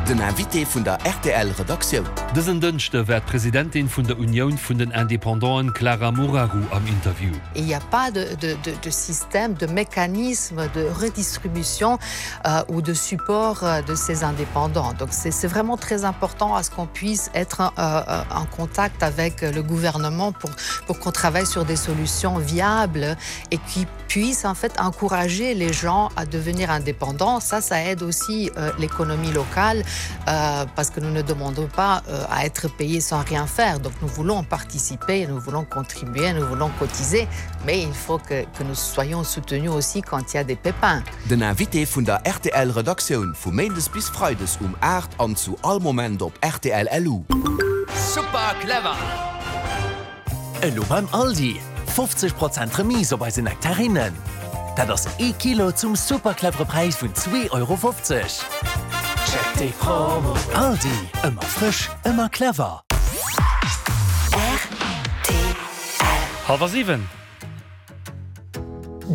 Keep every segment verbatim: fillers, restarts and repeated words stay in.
Den Invité vun der R T L Redaktioun. Dësen Dënschde war d'Presidentin vun der Unioun vun den Independanten Clara Moraru am Interview. Il n'y a pas de, de, de, de système, de mécanisme de redistribution euh, ou de support euh, de ces indépendants. Donc c'est vraiment très important à ce qu'on puisse être euh, euh, en contact avec le gouvernement pour, pour qu'on travaille sur des solutions viables et qui puissent en fait encourager les gens à devenir indépendants. Ça, ça aide aussi euh, l'économie locale euh, parce que nous ne demandons pas euh, à être payés sans rien faire. Donc nous voulons participer, nous voulons contribuer, nous voulons cotiser, mais il faut que, que nous soyons soutenus aussi quand il y a des pépins. Den Invité vun der R T L Redaktioun vu Méindes bis Freides um aacht an zu all Moment op R T L L U. Super clever! Elo beim Aldi fofzeg Prozent Remise op eis Nektarinnen. Dat ass ee Kilo zum super clevere Präis vun zwee Euro fofzeg. Check déi Promo. Aldi, ëmmer frësch, ëmmer clever. Hallwer siwen.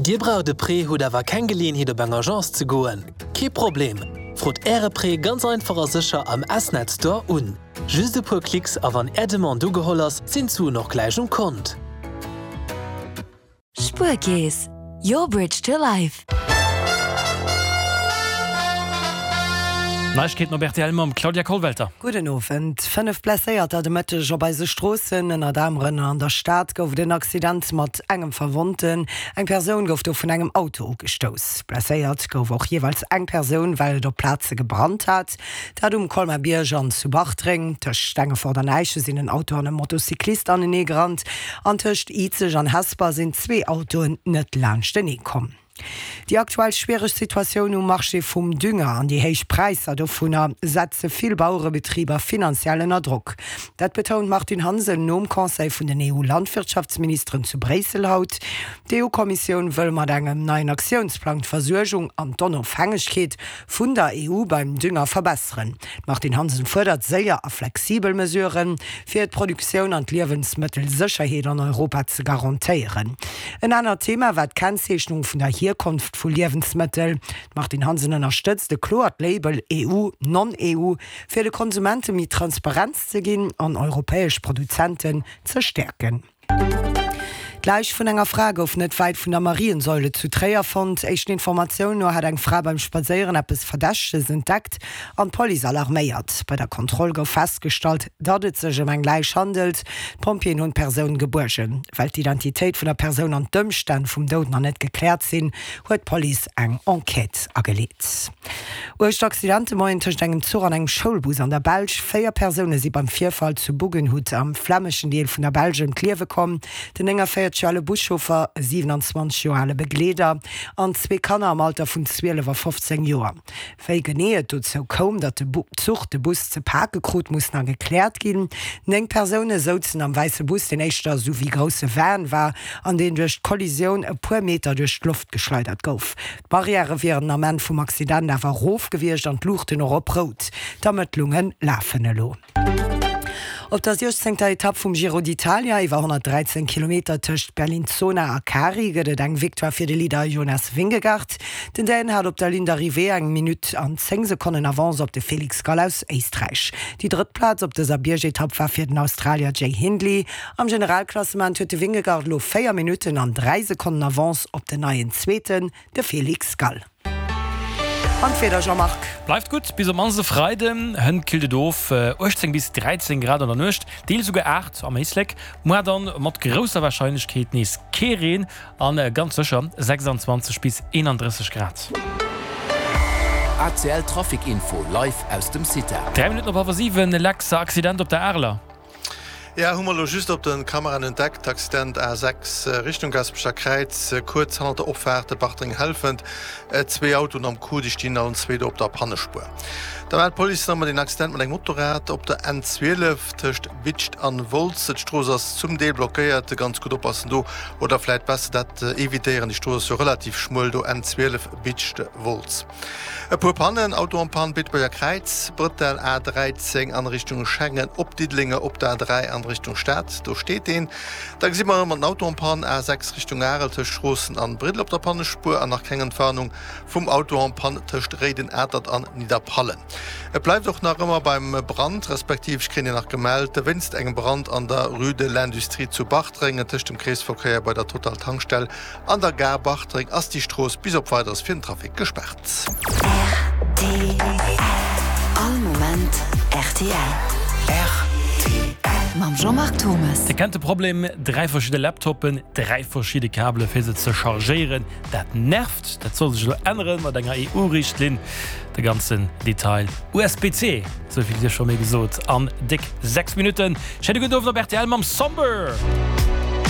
Dir braucht de Prêt, hutt awer keng Geleeënheet op eng Agence ze goen. Kee Problem. Frot Äre Prêt ganz einfach a sécher am S-Net Store un. Just e puer Klicks a wann Är Demande ugeholl ass, sinn d'Suen och gläich um Kont. Spuerkeess, your bridge to life. Neiegkeeten op R T L mam Claudia Kollwelter. Gudden Owend. Fënnef Blesséierter de Mëtteg op eise Stroossen. Ënnert anerem an der Stad gouf et en Accident mat engem Verwonnten. Eng Persoun gouf do vun engem Auto ugestouss. Blesséiert gouf och jeeweils eng Persoun, well et op Plaze gebrannt hat. Dat um Colmar-Bierg an zu Bartreng. Tëscht Stengefort an Äischen sinn en Auto an e Motocyclist aneneegerannt. An tëscht Izeg an Hesper sinn zwee Autoen net laanschtenee komm. Déi aktuell schwiereg Situatioun um Marché vum Dünger an déi héich Präisser dovunner setze vill Bauerebetriber finanziell ënner Drock. Dat betount d'Martine Hansen nom Conseil vun den E U-Landwirtschaftsministeren zu Bréissel haut. D'E U-Kommissioun wëll mat engem neien Aktiounsplang d'Versuergung an d'Onofhängegkeet vun der E U beim Dünger verbesseren. D'Martine Hansen fuerdert séier a flexibel Mesuren, fir d'Produktioun an d'Liewensmëttelsécherheet an Europa ze garantéieren. En anert Thema war d'Kennzeechnung vun der Hierkonft vu Liewensmëttel. D'Martine Hansen ënnerstëtzt e kloert Label E U, Non-E U, fir de Konsumente méi Transparenz ze ginn an europäesch Produzenten ze stäerken. D'Läich vun enger Fra gouf net wäit vun der Mariensäule zu Tréier fonnt. Éischten Informatiounen no hat eng Fra beim Spadséieren eppes Verdächteges entdeckt an d'Police alarméiert. Bei der Kontroll gouf festgestallt, datt et sech ëm eng Läich handelt. D'Pompjeeën hunn d'Persoun gebuergen. Well d'Identitéit vun der Persoun an d'Ëmstänn vum Doud nach net gekläert sinn, huet d'Police eng Enquête ageleet. Uergt Accident de Moien tëscht engem Zuch an engem Schoulbus an der Belsch. Véier Persoune si beim Virfall zu Buggenhout am flämeschen Deel vun der Belsch ëm d'Liewe komm. Den nénganvéierzeg Joer ale Buschauffer, e siewenanzwanzeg Joer ale Begleeder an zwee Kanner am Alter vun zwielef a fofzéng Joer. Wéi genee et dozou koum, datt de Zuch de Bus ze pake krut, muss nach gekläert ginn. Néng Persoune souzen am wäisse Bus, deen éischter sou wéi grousse Van war, an deen duerch d'Kollisioun e puer Meter duerch d'Loft geschleidert gouf. D'Barrièrë wieren den Ament vum Accident awer erof gewiescht an d'Luuchten och op Rout. D'Ermëttlunge lafen elo. Op der siechzéngter Etapp vum Giro d'Italia iwwer honnertdräizéng Kilometer tëscht Bellinzona a Cari gëtt et eng Victoire fir de Leader Jonas Vingegaard. Den Dän hat op der Ligne d'Arrivée eng Minutt an zéng Sekonnen Avance op de Felix Gall aus Éisträich. Déi drëtt Plaz op dëser Biergetapp war fir den Australier Jay Hindley. Am Generalklassement huet de Vingegaard elo véier Minutten an dräi Sekonnen Avance op den neien Zweeten, de Felix Gall. An d'Wieder, Jean-Marc. Bleift gutt bis op mannst e Freiden. Hënt killt et of, uechtzéng bis dräizéng Grad an der Nuecht, deels esouguer aacht am Éislek. Muer dann mat grousser Warscheinlechkeet nees kee Reen an ganz sécher sechsanzwanzeg bis eenandrësseg Grad. A C L Trafic Info live aus dem CITA. Dräi Minutten op hallwer siwen, Lex, Accident op der Areler. Ja, hu mer elo just op de Kameraen entdeckt, Accident A sechs Richtung Gaasperecher Kräiz, kuerz hannert der Opfaart Bartreng-Helfent. Zwee Autoen am Coup, déi stinn allen zwee do op der Pannespuer. Da mellt d'Police nach emol een Accident mat engem Motorrad op der N zwielef tëscht Vidscht an Wolz. D'Strooss ass zum Deel blockéiert, ganz gutt oppassen do oder vläit besser dat evitéieren, déi Strooss ass jo relativ schmuel do, N zwielef Vidscht Wolz. E puer Pannen, Auto en panne Beetebuerger Kräiz, Brëttel A dräizéng an Richtung Schengen op Diddeleng, op der A dräi an Richtung Stad, do steet een. Da gesi mer erëm en Auto en panne A sechs Richtung Arel tëscht Stroossen an Briddel op der Pannespuer an nach keng Entwarnung vum Auto en panne tëscht Réiden Atert an Nidderpallen. Et bleift och nach ëmmer beim Brand, respektiv ech kréien hei nach gemellt, wéinst engem Brand an der Rue de l'Industrie zu Bartreng, tëscht dem Kreesverkéier bei der Total Tankstell an der Gare Bartreng ass déi Strooss bis op Weideres fir den Trafic gespaart. Rtl All Moment rtl. Rtl. Mam Jean-Marc Thomes. Dir kennt de Problem, dräi verschidde Laptoppen, dräi verschidde Kabele fir se ze chargéieren. Dat nervt! Dat soll sech elo änneren mat enger E U-Richtlinn. De ganzen Detail, U S B C, esou vill sief scho méi gesot, an déck sechs Minutten. Schéine gudden Owend op rtl mam Somber!